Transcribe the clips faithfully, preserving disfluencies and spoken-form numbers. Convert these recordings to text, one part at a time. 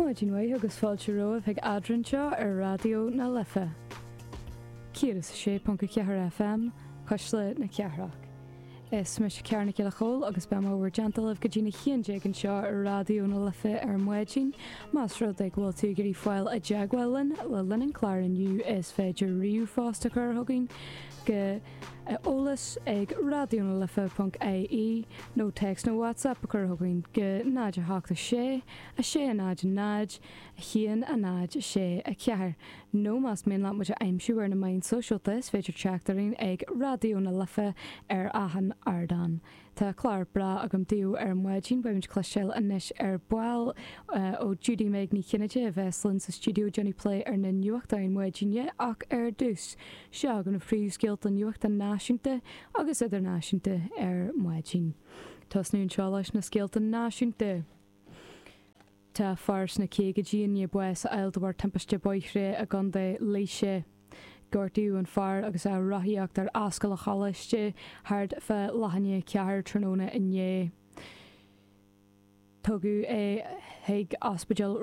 Maidin mhaith agus fáilte romhaibh chuig Eadrainn seo ar Raidió na Life. Céad is a sé ponc a ceathair FM, Cuisle na Cathrach. Is mise Ciara Nic Giolla Chóill agus beidh mé bhur dteannta libh go dtí a haon déag anseo ar Raidió na Life ar maidin, Más rud é go bhfuil tú ag iarraidh fáil i dteagmháil linn le linn an chláir inniu is féidir ríomhphost a chur chugainn go eolas ag raidió na life ponc ie nó téacs nó WhatsApp a chur chugainn go náid a hocht a sé, a sé a náid a náid, a haon a náid a sé a ceathair. Nó más mian leat muid a aimsiú ar na meáin sóisialta is féidir teacht orainn ag Raidió na Life ar achan ardán. Tá clár breá agam daoibh ar maidin, beimid ag cloisteáil anois ar ball ó Judy Meg Ní Chinnéide a bheas linn sa stiúideo ag déanamh plé ar na nuachtáin maidine ach ar dtús, seo agaibh na príomhscéalta nuachta náisiúnta agus idirnáisiúnta ar maidin. Tosnú anseo leis na scéalta náisiúnta. Tá fear sna caogaidí i ndiaidh bás a fháil de bharr timpiste bóithre i gContae Laoise. Gortaíodh an fear agus é ag rothaíocht ar Ascaill an Choláiste thart fá leath i ndiaidh a ceathair tráthnóna inné. Tugadh é chuig ospidéal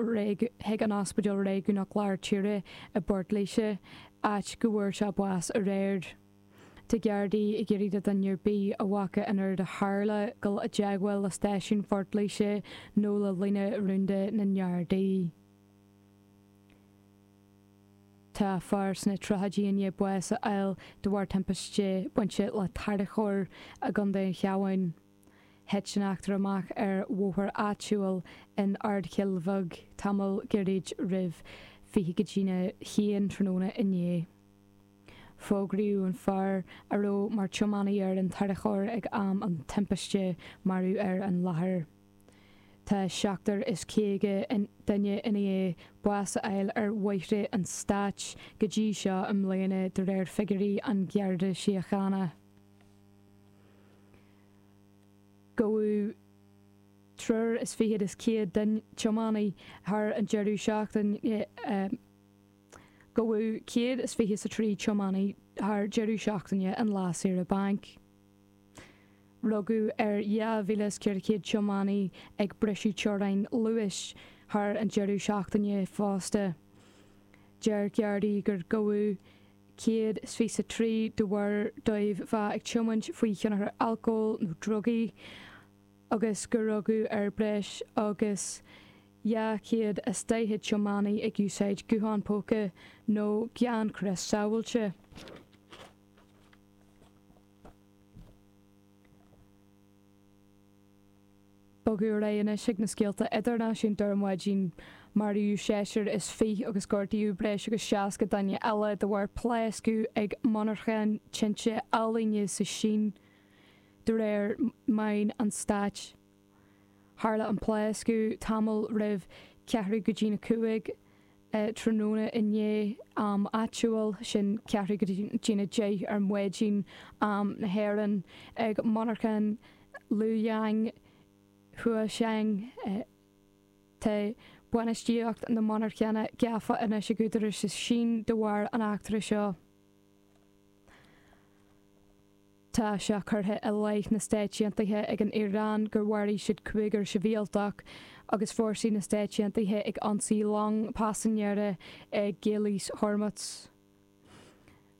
chuig an Ospidéal Réigiúnach Lár Tíre i bPort Laoise, áit go bhfuair sé bás aréir. Tá Gardaí ag iarraidh do dhuine ar bith a bhfaca an rud a tharla dul i dteagmháil le stáisiún Phort Laoise nó le líne rúnda na nGardaí. Tá fear sna tríochaidí i ndiaidh bás a fháil de bharr timpiste bainte le tarracóir i gContae an Chabháin. Thit an eachtra amach ar bhóthar áitiúil in Ard Chill Bheag tamall gairid roimh fiche go dtína haon tráthnóna inné. Fógraíodh an fear a raibh mar tiománaí ar an tarracóir ag am an timpiste marbh ar an láthair. Tá seachtar is caoga duine i ndiaidh bás a fháil ar bhóithre an stáit go dtí seo i mbliana de réir figiúirí an Gharda Síochána. Gabhadh triúr is fichead is céad tiománaí thar an deireadh seachtaine. Gabhadh céad is fiche is a trí tiománaí thar deireadh seachtaine an lá saoire bainc. Rugadh ar dhá mhíle is ceithre chéad tiománaí ag briseadh teorainn luais thar an deireadh seachtaine fosta. Deir Gardaí gur gabhadh céad is fiche is a trí de bharr dóibh bheith ag tiomáint faoi thionchar alcóil nó drugaí agus gur rugadh ar breis agus dhá chéad is daichead tiománaí ag úsáid guthán póca nó gan crios sábháilte. Bogadh ar aghaidh anois chuig na scéalta idirnáisiúnta ar maidin. Maraíodh seisear is fiche agus gortaíodh breis agus seasca duine eile de bharr pléascadh ag monarchan tinte ealaíne sa Sín, de réir meáin an stáit. Tharla an pléascadh tamall roimh ceathrú go dtína cúig tráthnóna inné, am áitiúil, sin ceathrú go dtína deich ar maidin, am na hÉireann, ag monarchan Luoyang Huasheng. Tá bainistíocht na monarchana gafa anois ag údaráis sa Sín de bharr an eachtra seo. Tá sé curtha i leith na Stáit Aontaithe ag an Iaráin gur mharaigh siad cúigear sibhialtach agus fórsaí na Stáit Aontaithe ag ionsaí long paisinéara i gCaolas Hormuz.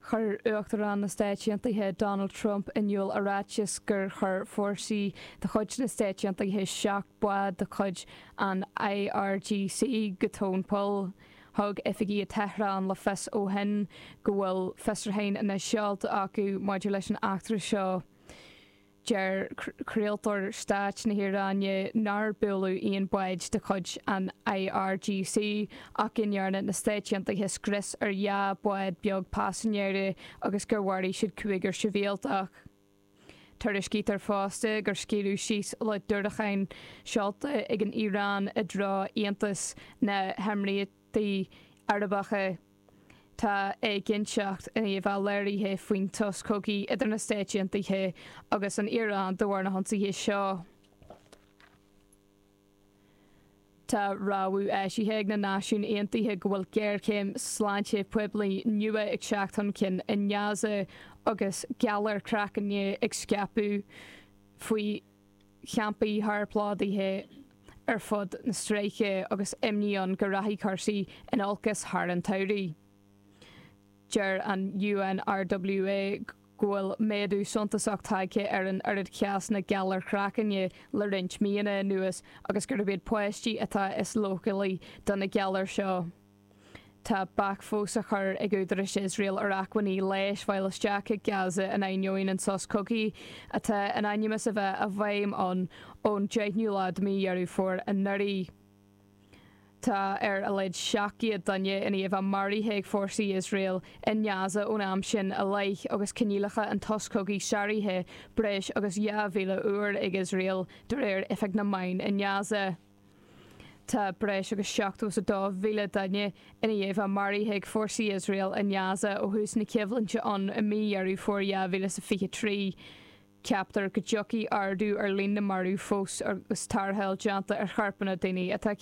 Chuir Uachtarán na Stáit Aontaithe Donald Trump in iúl i ráiteas gur chuir fórsaí de chuid na Stáit Aontaithe seacht bád de chuid an IRGC go tóin poill. Thug oifigigh i Tehran le fios ó shin go bhfuil fiosrúcháin anois seolta acu maidir leis an eachtra seo. Deir craoltóir stáit na hIaráine nár buaileadh aon bháid de chuid an IRGC ach go ndearna na Stáit Aontaithe scrios ar dhá bhád beag paisinéirí agus gur mharaigh siad cúigear sibhialtach. Tuairiscítear fosta gur scaoileadh síos le diúracáin seolta ag an Iaráin i dtreo Aontas na hÉimíríochtaí Arabacha. Tá éiginnteacht i ndiaidh a bheith léirithe faoin sos cogaidh idir na Stáit Aontaithe agus an Iaráin de bharr na hionsaithe seo. Tá rabhadh eisithe ag na Náisiúin Aontaithe go bhfuil géarchéim sláinte poiblí nua ag teacht chun cinn i nGaza agus galar craicne ag scaipeadh faoi champaí shárphlódaithe ar fud na stráice agus imní ann go rachaidh cúrsaí in olcas thar an tsamhradh. Deir an UNRWA go bhfuil méadú suntasach tagtha ar an oiread cásanna galar craicinn le roinnt míonna anuas agus gurb iad páistí atá is leochailí do na galair seo. Tá bac fós á chur ag údaráis Iosrael ar acmhainní leighis fáil isteach i Gaza in ainneoin an sos cogaidh atá in ainm is a bheith i bhfeidhm ann ón deichiú lá de mhí Dheireadh Fómhair anuraidh. Tá ar a laghad seacht gcéad duine i ndiaidh a bheith maraithe ag fórsaí Iosrael i nGaza ón am sin i leith agus coinníollacha an tsos cogaidh sáraithe breis agus dhá mhíle uair ag Iosrael de réir Oifig na Meán i nGaza. Tá breis agus seachtó is a dó mhíle duine i ndiaidh a bheith maraithe ag fórsaí Iosrael i nGaza ó thús na coimhlinte ann i mí Dheireadh Fómhair dhá mhíle is a fiche trí. Ceaptar go dtiocfaidh ardú ar líon na marbh fós agus tarrtháil déanta ar chorpanna daoine atá